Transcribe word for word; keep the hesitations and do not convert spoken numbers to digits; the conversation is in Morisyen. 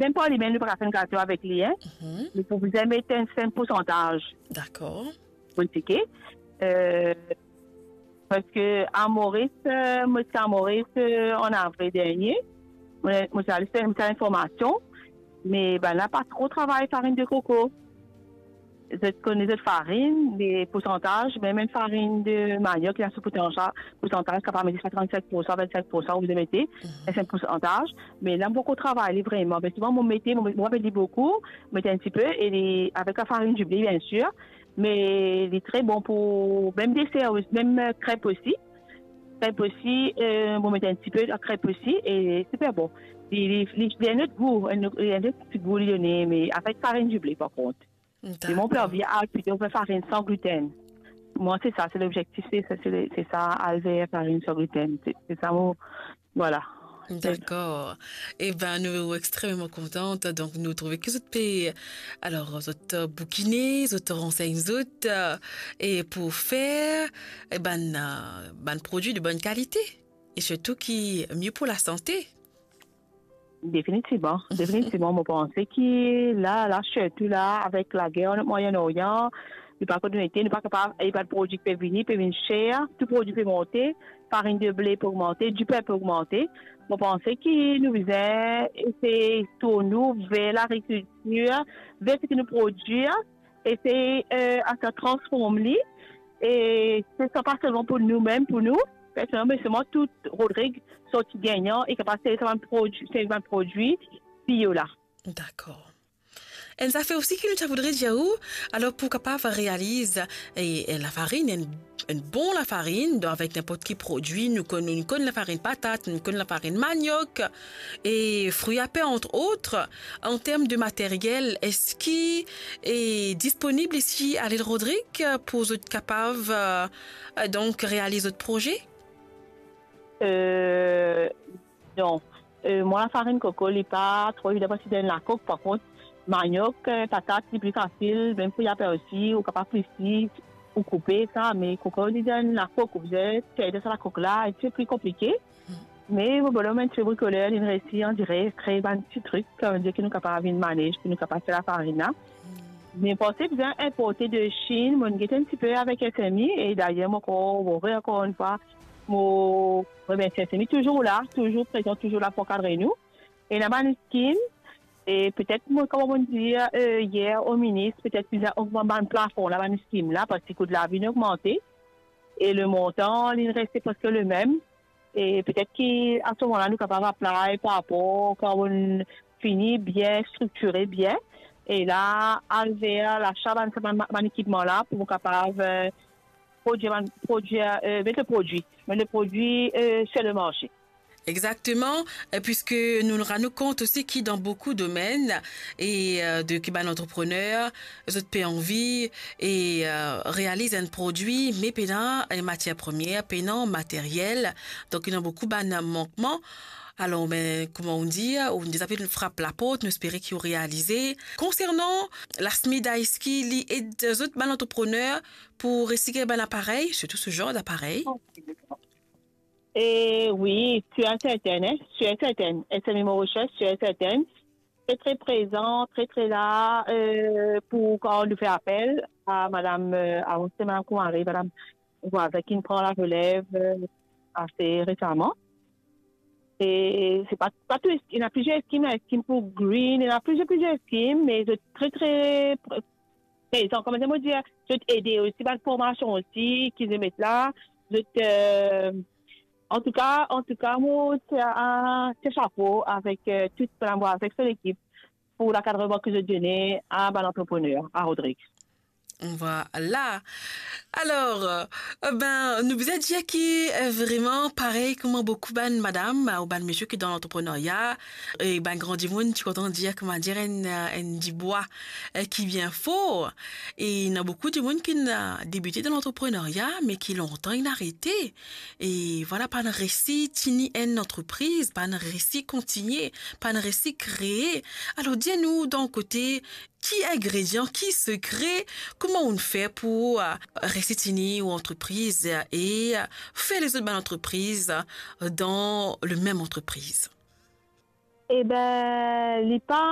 mem par limel, nou pa kapav fer enn gato avek li, hein. Mhm. Nou pou bizin met enn, enn poursantaz. Dakor. Pou tike. Euh, parski a Moris, euh, mo ti a Moris, euh, an avril dernie. Mo, mo ti al fer enn ti linformasion, me bann la pa tro travay farinn de koko. Zot kone zot farinn, le poursantaz, mem enn farinn de maniok, li ena so poursantaz, poursantaz, kapav met sa trant-sink pousan, vint-sink pousan, ou bizin mete, mhm, enn poursantaz. Me la, mo poko travay li vreman. Me souvan, mo mete, mo, mo pa met li boukou, mo met enn tipe, e li, avek lafarinn dible, biensir, me li tre bon pou mem deser, mem, euh, krep osi. Krep osi, euh, mo met enn tipe lakrep osi, e siper bon. Li, li, li, li ena enn lot gou, enn, enn lot ti gou li done, me avek farinn dible, par kont. Dakor. E mo pe anvi al plito ver farinn san gliten. Mwa, se sa, se lobzektif, se, se, se, se sa, al ver farinn san gliten. Se, se sa mo, vwala. Dakor. Eben, nou extrememan kontan. Donk, nou trouve ki zot pe, alor, zot, euh, boukine, zot ransegn zot, euh, e pou fer, e bann, euh, bann prodwi de bonn kalite. E sirtou ki mie pou lasante. Definitivman, definitivman, mo panse ki la, la, sirtou la, avek lager an Mwayen Orian, nou pa konn nou ete, nou pa kapav, e bann prodwi ki pe vini, pe vinn ser, tou prodwi pe monte, farinn de ble pe ogmante, dipen pe ogmante. Mo panse ki nou bizin esey tourn nou ver lagrikiltir, ver seki nou prodwir, esey, euh, aster transform li, e se sa pa selman pou nou mem, pou nou, personelman, me selman tou Rodrig sorti gagnan e kapav servi sa bann prodwi, servi bann prodwi bio la. Dakor. Enn zafer osi ki nou ti a voudre dir ou, alor pou kapav realiz, e, e lafarinn, enn, enn bon lafarinn, donk avek ninport ki prodwi, nou konn, nou konn lafarinn patat, nou konn lafarinn maniok, e frui a per, entre autres. An term de materyel, eski e disponib isi a Lil Rodrig pou zot kapav, euh, donk, realiz zot proze? Euh, non. Euh, mwa, lafarinn koko, li pa tro evidan parski li dan lakok. Par kont, maniok, euh, patat, li pli fasil, mem frui a per osi, ou kapav plisi, ou koupe sa, me koko, li dan lakok, ou bizin tir dan sa lakok la, e se pli konplike. Me mo bonom enn ti pe brikoler, li resi, on dirait, kre bann ti trik, sa ve dir ki nou kapav vinn manez, ki nou kapav fer lafarinn la. Me panse bizin inporte de Chine, mo gete enn tipe avek S M I, e dayer mo ankor, mo re ankor enn fwa, mo remersie S M I, touzour la, touzour prezan, touzour la pou ankadre nou. Ena bann skim, e petet, mo, kouma mo dir, euh, yer o minis, petet bizin ogmant bann plafon la, bann skim la, parski kou lavi inn ogmante, e le montan, li reste preske le mem. E petet ki a se moman la, nou kapav apply par rapor kan nou fini bien striktire bien. E la, al ver lasa bann, bann, bann ekipman la pou nou kapav, euh, prodwir bann, prodwir, euh, met le prodwi, met le prodwi, euh, sur le marché. Exactement, euh, puisque nou rann nou kont osi ki dan boukou domenn e, euh, de ki bann antreprener, zot pe anvi e, euh, realiz enn prodwi, me pena enn matier premie, pena materyel. Donk, ena boukou bann mankman. Alor, me, kouma nou dir, nou deza pe frap laport, nou espere ki ou realize. Konsernan Lasmida, eski li ed zot bann antreprener pou resi gagn bann aparey, sirtou se zar daparey? E wi, sir e serten, hein, sir e serten. S M I Mauritius, sir e serten. Tre, tre prezan, tre, tre la, euh, pou kan nou fer apel a madam, euh, avan se madam Koumari, madam Voisin ki pran larelev, euh, ase resaman. E se pa, pa tou, ena plizier skim, ena skim pou green, ena plizier, plizier skim, me zot tre, tre pre-, prezan, kouma mo dir, zot ede osi, bann formasion osi ki zot met la, zot, euh, antouka, antouka, mo tir, euh, tir sapo avek, euh, tou bann, avek so lekip pou lakadreman ki zot done a bann antreprener, a Rodrig. Vwala. Alor, euh, ben, nou bizin dir ki, euh, vreman, parey kouma boukou bann madam, euh, ou bann misie ki dan lantreprenerya, e bann gran dimoun, ti kontan dir, kouma dir, enn, euh, enn dibwa, euh, ki bien for. E ena boukou dimoun ki inn, euh, debite dan lantreprenerya, me ki lontan inn arete. E vwala, pa'nn resi tini enn antrepriz, pa'nn resi kontigne, pa'nn resi kree. Alor, dir nou, dan kote, ki ingredian, ki sekre, kouma ou'nn fer pou, euh, resi tini ou antrepriz e, euh, fer lezot bann antrepriz, euh, dan le mem antrepriz? Eben, li pa